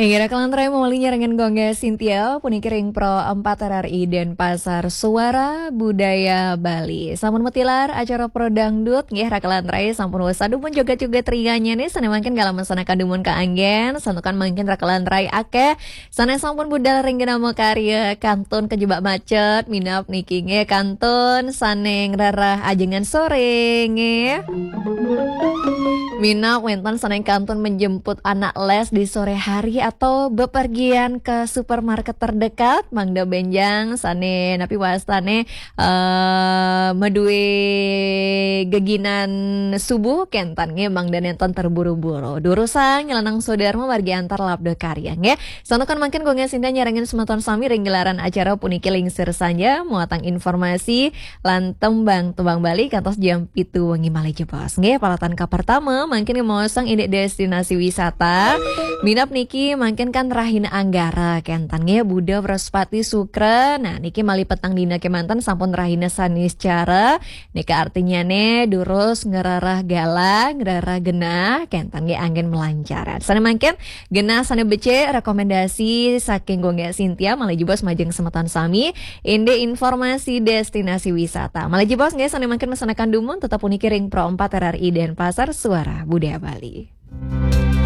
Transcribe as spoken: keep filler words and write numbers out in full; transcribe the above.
Inggih, Raka Lantarai mawali nyarengan Gongga Sintia, puniki ring Pro empat R R I Denpasar, Suara Budaya Bali. Sampun matilar acara Pro Dangdut, nggih, Raka Lantarai, sampun wasa dumun joget-joget rianya nih, sane mangkin galah masandekan dumun kaanggen, santukan mangkin Raka Lantarai akeh sane sampun budal ring genah makarya, kantun kajebak macet, minab niki nggih, kantun sane ngrereh ajengan sore nggih. Minab wenten sane kantun menjemput anak les di sore hari atau bepergian ke supermarket terdekat, mangda benjang sane napi wastane, eh, madue geginan subuh kenten nggih, mangda nenten terburu-buru. Durusang nyelenang sodarma margi antar labda karya nggih. Santukan mangkin Gongga Sintia nyarengin semeton sami ring gelaran acara puniki lingsir sanja, muatang informasi lan tembang-tembang Bali kantos jam pitu wengi malih jebos. Nggih, paralatan kapertama mangkin maosang indik destinasi wisata. Minab niki mangkin kan rahina Anggara kenten nggih, Buda, Wraspati, Sukra. Nah, niki malih petang dina kemanten sampun rahina Saniscara. Nika artinyane durus ngrereh galah, ngrereh genah, kenten nggih anggen melancaran. Sane mangkin genah sane becik rekomendasi saking Gongga Sintia malih jebos majeng semeton sami. Indik informasi destinasi wisata. Malih jebos nggih sane mangkin masandekan dumun tetep puniki ring Pro empat R R I Denpasar, Suara Budaya Bali.